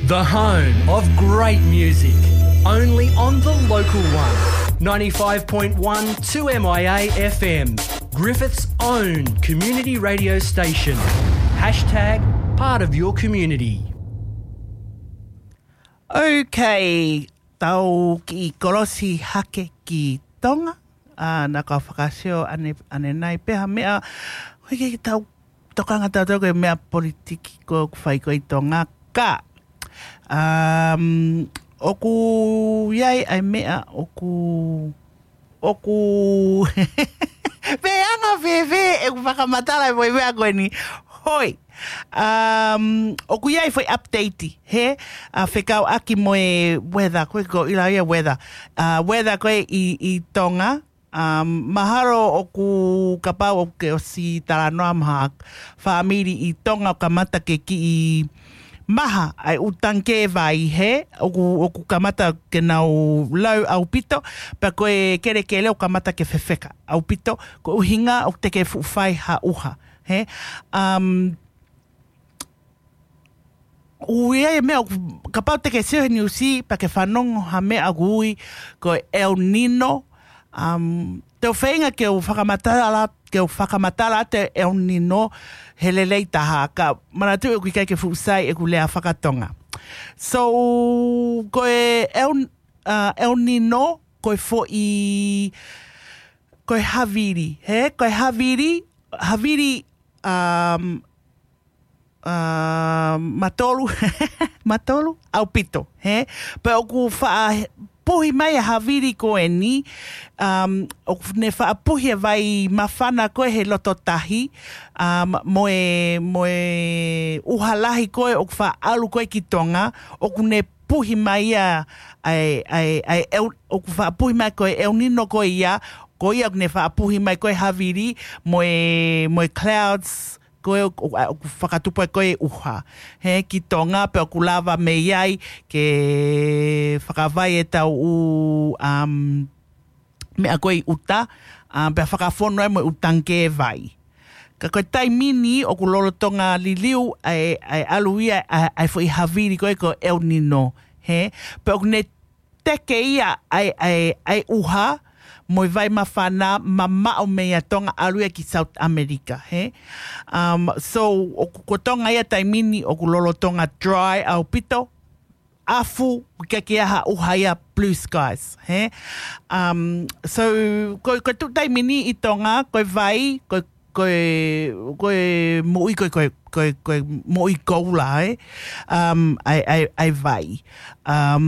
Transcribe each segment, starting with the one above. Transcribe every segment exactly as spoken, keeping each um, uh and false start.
The home of great music, only on the local one. Ninety-five point one two M I A F M, Griffith's own community radio station. Hashtag part of your community. Okay, tau kiʻi kolosi hake ki Tonga. ʻA, naʻa ku fakasio ʻanenai pē ha meʻa, ʻoku ʻikai ke tau tokanga tautolu ki he meʻa politiki ko ē ʻoku fai ko ē ʻi Tonga. Ka, um, ʻoku ʻi ai ʻa e meʻa ʻoku, ʻoku, pe anga fēfē ʻeku fakamatala mo e meʻa ko eni. Hoi. Um, ʻoku ʻi ai foʻi update, he, ʻa, fekauʻaki mo e weather, ko e ko ila ia weather. ʻA, weather ko ē ʻi, ʻi Tonga. Um, mahalo ʻoku kapau ʻoku ke ʻosi talanoa mo ha fāmili ʻi Tonga ʻoku kamata ke kiʻi maha ʻa e ʻū tangikē vai, he, ʻoku, ʻoku kamata ke nau lau ʻaupito, pea ko e kelekele ʻoku kamata ke fefeka ʻaupito, ko e ʻuhinga ʻoku teʻeki ke fuʻu fai ha ʻuha, he. Um, ʻoku ʻi ai e meʻa ʻoku, kapau te ke sio he niusi, pea ke fanongo ha meʻa ʻoku ui ko e El Nino. Um, te u feinga ke u fakamatala, ke u fakamatala atu e El Nino he lelei taha, ka manatuʻi ʻoku ʻikai ke fuʻu sai ʻeku lea faka-Tonga. So, ko e El, uh, El Nino, ko e foʻi, ko e havili, he, ko e havili, havili, um, uh, matolu, matolu, ʻaupito, he? Pea ʻoku faʻa puhi mai e havili ko eni, um, ʻoku ne faʻa puhi e vai māfana ko ē he loto tahi, um, mo e, mo e ʻuha lahi ko ē ʻoku faʻa ʻalu ko ē ki Tonga, ʻoku ne puhi mai ia, ʻa e, ʻa e, ʻa e, El, ʻoku faʻa puhi mai ko e El Nino ko ia, ko ia ʻoku ne faʻa puhi mai ko e havili, mo e, mo e clouds, ko e ʻoku, ʻoku fakatupu ai ko e ʻuha. He ki Tonga pea ʻoku lava mei ai ke fakavai e tau ʻū, um, meʻa ko ē ʻi ʻuta, um, pea fakafonu ai mo e ʻū tangikē vai. Ka ko e taimi ni ʻoku lolotonga liliu ʻa e, ʻa e ʻalu ia ʻa e, ʻa e foʻi havili ko ē ko e El Nino. He, pea ʻoku ne teke ia ʻa e, ʻa e, ʻa e ʻuha, mo e vai māfana mamaʻo mei a Tonga ʻalu ia ki South America, he? Um, so, ʻoku, ko Tonga ia taimi ni ʻoku lolotonga dry ʻaupito, ʻafu, ʻikai ke ʻi ai ha ʻuha ia blue skies, he? Um, so, ko, ko e tuʻu taimi ni ʻi Tonga, ko e vai, ko e ko e, ko e moʻui, ko e, ko e, ko e, ko e moʻui koula, ē? Um, ʻa e, ʻa e, ʻa e vai. Um,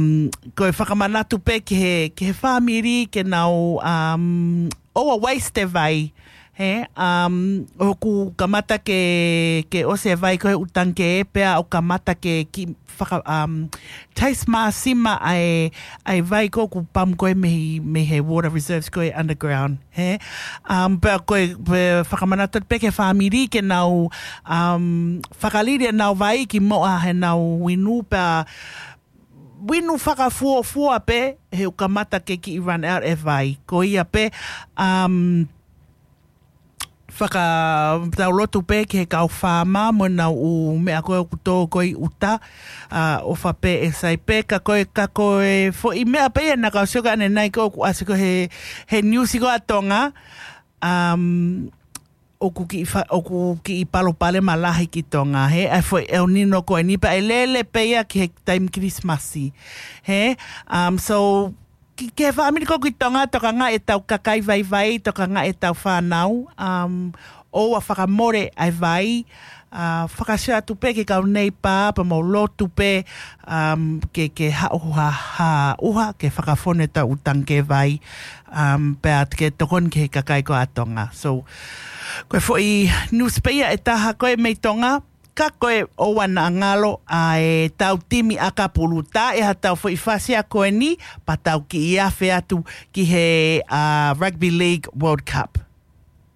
ko e fakamanatu pē ki he, ki he fāmili, ke nau, um, ʻoua waste e vai, he? Um, ʻoku kamata ke, ke ʻosi e vai ko e ʻū tangikē, pea ʻoku kamata ke kiʻi faka-, um, taste māsima ʻa e, ʻa e vai ko ē ʻoku pump ko ē mei, mei he water reserves ko ē underground, he? Um, pea ko e, pea fakamanatu pē ki he fāmili ke nau, um, fakalili ʻenau vai ki muʻa heʻenau inu, pea inu fakafuofua pē he ʻoku kamata ke kiʻi run out e vai. Ko ia pē, um, faka-, tau lotu pē ki he kau fāma mo ʻenau ʻū meʻa ko ē ʻoku tō ko ē ʻi ʻuta, ʻa, ʻofa pē ʻe sai pē, ka ko e, ka ko e foʻi meʻa pē ia naʻa ku sio ki ai ʻanenai ko ē ʻoku ʻasi ko ē he, he niusi ko ē ʻa Tonga, um, ʻoku kiʻi fa-, ʻoku kiʻi palopalema lahi ki Tonga, he, ʻa e foʻi El Nino ko eni pea ʻe lele pē ia ki he taimi Kilisimasi, he, um, so, ki, ki he fāmili ko ē ki Tonga, tokangaʻi ʻetau kakai vaivai, tokangaʻi ʻetau fānau, um, ʻoua fakamole ʻa e vai, ʻa, fakasio atu pē ki he kau neighbour, pea mou lotu pē, um, ke, ke haʻu ha, ha ʻuha, ke fakafonu ʻetau ʻū tangikē vai, um, pea ke tokoni ki he kakai ko ē ʻa Tonga. So, ko e foʻi news pē ia ʻe taha ko ē mei Tonga, ka ko e ʻoua naʻa ngalo ʻa ʻetau timi ʻakapulu, tā ʻe ha tau foʻi fasi ʻa ko eni, pea tau kiʻi afe atu ki he, ʻa, Rugby League World Cup.